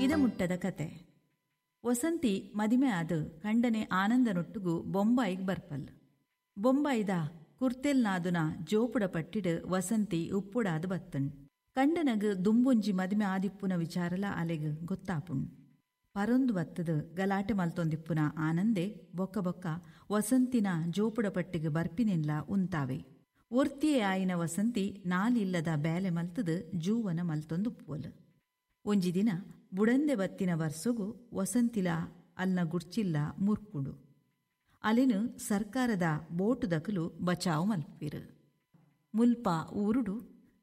ಇದಮುಟ್ಟದ ಕತೆ. ವಸಂತಿ ಮದಿಮೆ ಆದ್ ಕಂಡನೆ ಆನಂದನೊಟ್ಟುಗು ಬೊಂಬಾಯಿಗ್ ಬರ್ಪಲ್. ಬೊಂಬಾಯಿದ ಕುರ್ತೆಲ್ನಾದುನ ಜೋಪುಡ ಪಟ್ಟಿಡ್ ವಸಂತಿ ಉಪ್ಪುಡಾದ್ ಬತ್ತುಂಡ್. ಕಂಡನಗ್ ದುಂಬೊಂಜಿ ಮದಿಮೆ ಆದಿಪ್ಪುನ ವಿಚಾರಲ ಅಲೆಗ್ ಗೊತ್ತಾಪುಂಡು. ಪರೊಂದು ಬತ್ತುದ್ ಗಲಾಟೆ ಮಲ್ತೊಂದಿಪ್ಪುನ ಆನಂದೆ ಬೊಕ್ಕ ಬೊಕ್ಕ ವಸಂತಿನ ಜೋಪುಡ ಪಟ್ಟಿಗ್ ಬರ್ಪಿನೆನ್ಲಾ ಉಂತಾವೆ. ಒರ್ತಿಯೇ ಆಯಿನ ವಸಂತಿ ನಾಲ್ ಇಲ್ಲದ ಬೇಲೆ ಮಲ್ತುದ್ ಜೂವನ ಮಲ್ತೊಂದುಪ್ಪುವಲ್. ಒಂಜಿ ದಿನ ಬುಡಂದೆ ಬತ್ತಿನ ವರ್ಸೊಗು ವಸಂತಿಲಾ ಅಲ್ನ ಗುಡ್ಚಿಲ್ಲಾ ಮುರ್ಕುಂಡು. ಅಲೆನ್ ಸರ್ಕಾರದ ಬೋಟುದಕುಲು ಬಚಾವ್ ಮಲ್ಪುವೆರ್. ಮುಲ್ಪ ಊರುಡು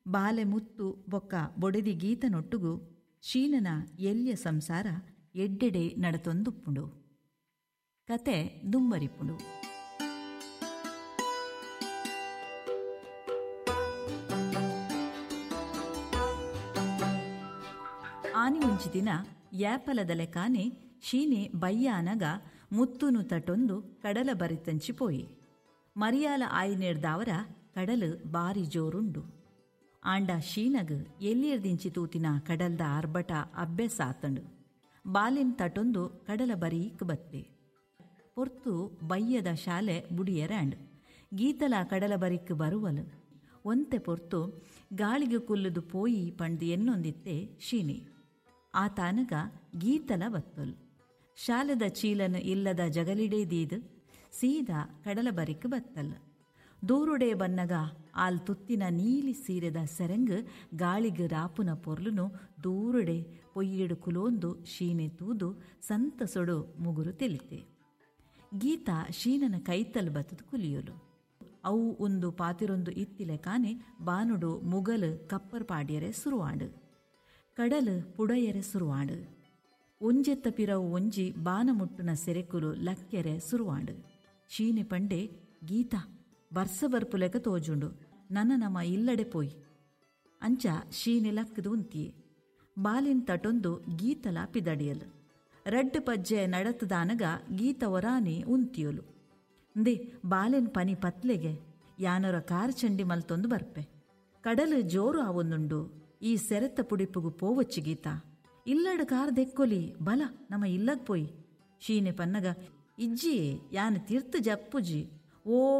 ಬಾಲೆ ಮುತ್ತು ಬೊಕ್ಕ ಬೊಡೆದಿ ಗೀತನೊಟ್ಟುಗು ಶೀನನ ಎಲ್ಯ ಸಂಸಾರ ಎಡ್ಡೆಡೆ ನಡತೊಂದುಪ್ಪುಂಡು. ಕತೆ ದುಂಬರಿಪುಂಡು. ಆನಿ ಒಂಜಿ ದಿನ ಯಾಪಲದ ಲೆಕಾನೆ ಶೀನೆ ಬಯ್ಯಾನಗ ಮುತ್ತುನು ತಟೊಂದು ಕಡಲ ಬರಿತಂಚಿ ಪೋಯಿ. ಮರಿಯಾಲ ಆಯಿನೆಡ್ದಾವರ ಕಡಲು ಬಾರಿ ಜೋರುಂಡು. ಆಂಡ ಶೀನಗ್ ಎಲ್ಲಿಯರ್ದಿಂಚಿ ತೂತಿನ ಕಡಲ್ದ ಆರ್ಭಟ ಅಭ್ಯಾಸ ಆತಂಡು. ಬಾಲಿನ್ ತಟೊಂದು ಕಡಲ ಬರೀಕ್ ಬತ್ತೆ. ಪೊರ್ತು ಬಯ್ಯದ ಶಾಲೆ ಬುಡಿಯರಾಂಡ್. ಗೀತಲ ಕಡಲ ಬರಿಕ್ ಬರುವಲು. ಒಂತೆ ಪೊರ್ತು ಗಾಳಿಗೆ ಕುಲ್ಲುದು ಪೋಯಿ ಪಂಡ್ದ್ ಎನ್ನೊಂದಿತ್ತೆ ಶೀನೆ. ಆತಾನಗ ಗೀತಲ ಬತ್ತೊಲ್. ಶಾಲೆದ ಚೀಲನ್ ಇಲ್ಲದ ಜಗಲಿಡೇ ದೀದ್ ಸೀದಾ ಕಡಲ ಬರಿಕ್ ಬತ್ತಲ್. ದೂರುಡೆ ಬನ್ನಗ ಆಲ್ ತುತ್ತಿನ ನೀಲಿ ಸೀರೆದ ಸೆರಂಗ್ ಗಾಳಿಗ್ ರಾಪುನ ಪೊರ್ಲುನು ದೂರುಡೆ ಪೊಯ್ಯೆಡು ಕುಲೋಂದು ಶೀನೆ ತೂದು ಸಂತಸೊಡು ಮುಗುರು ತೆಲಿತೆ. ಗೀತಾ ಶೀನನ ಕೈತಲ್ ಬತ್ತದು ಕುಲಿಯೊಲು. ಅವು ಉಂದು ಪಾತಿರೊಂದು ಇತ್ತಿಲೆಕಾನೆ ಬಾನುಡು ಮುಗಲ್ ಕಪ್ಪರ್ ಪಾಡ್ಯರೆ ಸುರುವಾಂಡ್. ಕಡಲು ಪುಡಯರೆ ಸುರುವಾಂಡ್. ಒಂಜೆತ್ತ ಪಿರವು ಒಂಜಿ ಬಾನ ಮುಟ್ಟುನ ಸೆರೆಕುಲು ಲಕ್ಕೆರೆ ಸುರುವಾಂಡ್. ಶೀನೆ ಪಂಡೆ, ಗೀತಾ ಬರ್ಸ ಬರ್ಪುಲೆಕ ತೋಜುಂಡು, ನನ ನಮ ಇಲ್ಲಡೆ ಪೋಯಿ. ಅಂಚ ಶೀನೆ ಲಕ್ಕದು ಉಂತಿಯೆ. ಬಾಲಿನ್ ತಟೊಂದು ಗೀತಲ ಪಿದಡಿಯಲು. ರಡ್ಡ್ ಪಜ್ಜೆ ನಡತದಾನಗ ಗೀತ ಒರಾನೆ ಉಂತಿಯೊಲು. ಇಂದೆ ಬಾಲೆನ್ ಪನಿ ಪತ್ಲೆಗೆ ಯಾನೊರ ಕಾರ್ ಚಂಡಿ ಮಲ್ತೊಂದು ಬರ್ಪೆ. ಕಡಲು ಜೋರು ಆವೊಂದುಂಡು, ಈ ಸೆರೆತ್ತ ಪುಡಿಪುಗು ಪೋವಚ್ಚಿ ಗೀತಾ. ಇಲ್ಲಡ್ ಕಾರ್ ದೆಕ್ಕೊಲಿ, ಬಲ ನಮ ಇಲ್ಲಗ್ ಪೋಯಿ. ಶೀನೆ ಪನ್ನಗ, ಇಜ್ಜಿಯೇ ಯಾನ್ ತಿರ್ತು ಜಪ್ಪುಜಿ ಓ.